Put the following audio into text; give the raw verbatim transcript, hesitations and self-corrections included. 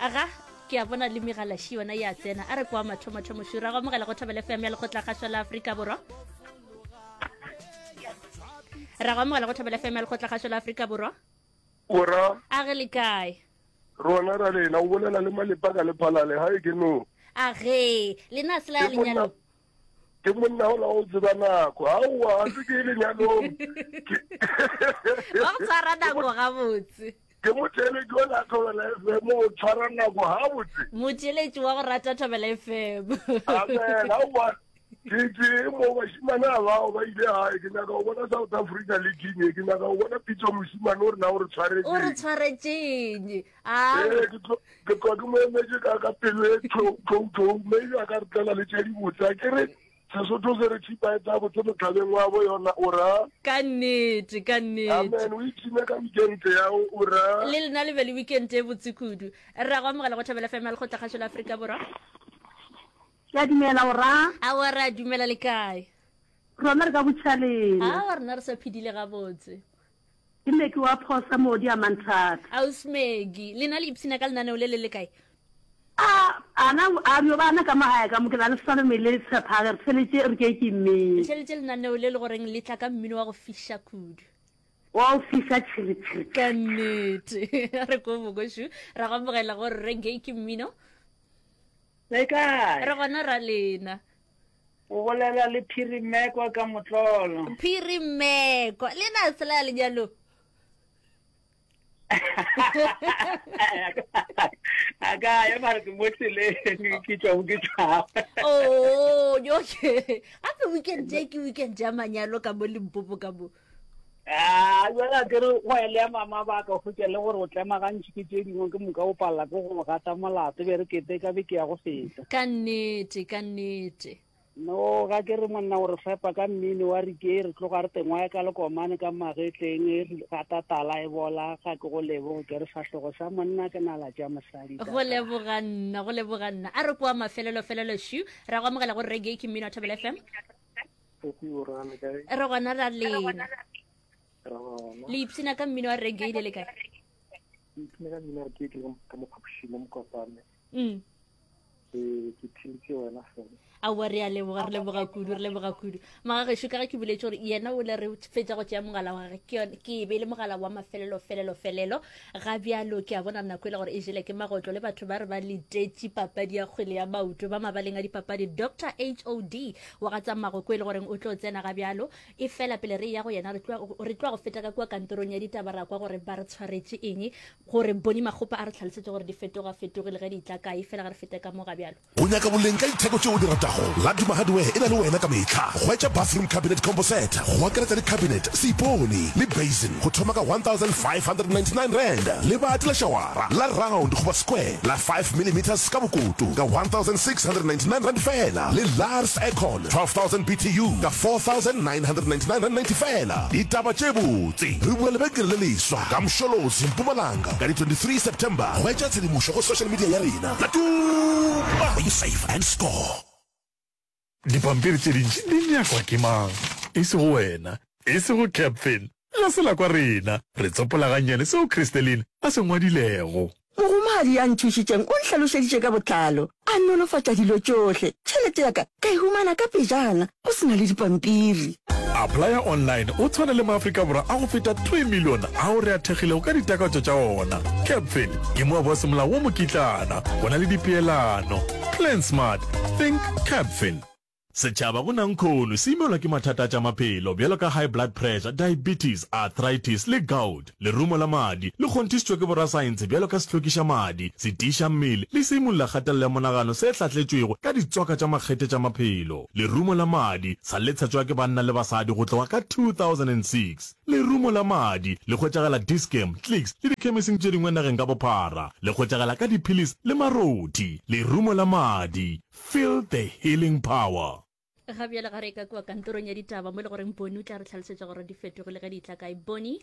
Aga ke a bona le megalaši yona ya tsena. A re kwa mathomothomo šura go amogela go Thobela F M ya Lekgotlakgašo la Afrika Borwa. Ra go amogela go Thobela F M ya Lekgotlakgašo la Afrika Borwa. Ora. A ge le kae? Rona ra lena, o bolela le Malepa ka Lephalale, ga e ke no. A ge, lena a se la ya lenyalong? Ke monna ola o tseba nako. Aowa, ga se ke ye lenyalong. Wa go tshwara nako gabotse. Ke motheeletši wa la Thobela F M, o tshwara nako gabotse. Motheeletši wa go rata Thobela F M. Amen, aowa. Ke ke mo bashimane a bao ba ile gae, ke nyaka go bona South Africa le Guinea, ke nyaka go bona Pitso moshimane o rena o re tshwaretšeng. O re tshwaretšeng. Ah. Ee, ke tlo ke tlo ke mo emetše ka ka pelo e tlou tlou tlou, maybe a ka re tlela le tše dibotse. A ke re Sesotho se re tšhipa e tsa botse motlhabeng wa bo yona, o ra. Ka nnete, ka nnete. Amen, o ipshine ka weekend ya o ra. Le lena le be le weekend e botse kudu. Re a go amogela go Thobela F M ya Lekgotlakgašo la Afrika Borwa. Ke a dumela o ra. Aowa re a dumela le kae? Rona re ka botšhaleng. Aowa rena re sa phedile gabotse. Ke Maggie wa Phosa moodi a Manthata. Ausi Maggie, lena le ipshina ka lenaneo le le le kae? A, ana, a bjo bana ka mo gae ka mo, ke na le Salome le Tshephage, re theletše re ke ke mmino. Re theletše lenaneo le le goreng le tla ka mmino wa go fiša kudu. Wa go fiša tšhiri tšhiri. Ka nnete. Re ko bokošu, ra go amogela go Reggae ke mmino. Le kae? Re gona ra lena. O bolela le Phiri Mmekwa ka Motlolo. Phiri Mmekwa. Le na se la ya lenyalong? A ka ya mara ke mo tseleng ke tšwa ke tšwa. Oh, okay. Gape weekend e ke weekend ya manyalo ka mo Limpopo ka mo. Ah, jwale a kere go ya le ya mama ba ka hwetša le gore o tlema gantši ke tše dingwe ke moka o palela ke go gata molato be re kete ka be ke ya go feta. Ka nnete, ka nnete. No, ga ke re monna o re fepa ka mmino wa rike re tloga re tengwa ka lekomane ka magetleng re gata tala e bola ga ke go leboge ke re fahlogo sa monna ke nala tša mosadi. Go leboga nna, go leboga nna. A re kwa mafelelo felelo shu, ra go amogela go Reggae ke mmino wa Thobela F M. Re gona ra lena. Le ipshina ka mmino wa reggae le le kae? Ipshina ka mmino wa reggae ke ka mo phapošing mo Mokopane. Mm. Ee, ke theletše wena fela. Aowa, re a leboga, re leboga kudu, re leboga kudu. Magagešo, ka ge ke boletše gore yena o le re fetša go tšea mogala wa gage, ke yone, ke e be le mogala wa mafelelo, felelo, felelo. Ga bjalo ke a bona nako e le gore e jele ke magotlo le batho ba re ba letetše papadi ya kgwele ya maoto ba mabaleng a dipapadi. Doctor H O D wa ga Tsammago ko e le goreng o tlo tsena ga bjalo. E fela pele re eya go yena, re tlo, re tlo go feta ka kua kantorong ya ditaba ra kwa gore ba re tshwaretše eng, gore Boni Makgopa a re hlalosetše gore di fetoga fetogile ge di tla kae. Fela ga re fete ka mo ga bjalo. O nyaka boleng ka ditheko tšeo o di ratago? Laduma Hardware e na le wena ka mehla. Hwetša bathroom cabinet combo set go akaretša le cabinet, seipone le basin go thoma ka one thousand five hundred and ninety nine rand. Lebati la šawara la round goba square la five millimeters ka bokoto ka one thousand six hundred and ninety nine rand feela le Lars Aircon twelve thousand B T U ka four thousand nine hundred and ninety nine rand ninety feela. Ditaba tše botse! Re bula lebenkele le leswa ka Msholozi, Mpumalanga ka di twenty three September. Hwetša tshedimošo go social media ya rena. Laduma! Where you save and score. Dipampiri tše dintši di nyakwa ke mang? E sego wena, e sego Capfin. Ga se la kwa rena. Re tsopola gannyane seo Christeline a se ngwadilego. Mogomadi ya nthušitšeng o nhlalošeditše ka botlalo, a nolofatša dilo tšohle. Tšhelete ya ka ka e humana ka pejana, go se na le dipampiri. Applya online o tshwane le maAfrika Borwa a go feta three million ao re a thekgilego ka ditakatšo tša ona. Capfin ke moabi wa semolao wo mokitlana, go na le dipeelano. Plan smart, think Capfin. Setšhaba go nankhono se imelwa ke mathata a tša maphelo bjalo ka high blood pressure, diabetes, arthritis le gout. Lerumo la madi le kgonthišitšwe ke borasaense bjalo ka sehlokiša madi, setiiša mmele le seimolla kgatelelo ya monagano se hlahletšwego ka ditswaka tša makgethe tša maphelo. Lerumo la madi sa le tshetšwa ke banna le basadi go tloga ka two thousand and six Lerumo la madi le hwetšagala Dis-Chem, Clicks le dikhemising tše dingwe nageng ka bophara. Le hwetšagala ka diphilisi le marothi. Lerumo la madi. Feel the healing power. Ga bjale ga re ka kua kantorong ya ditaba mo e le goreng Boni o tla re hlalosetša gore di fetogile ge di tla kae. Boni.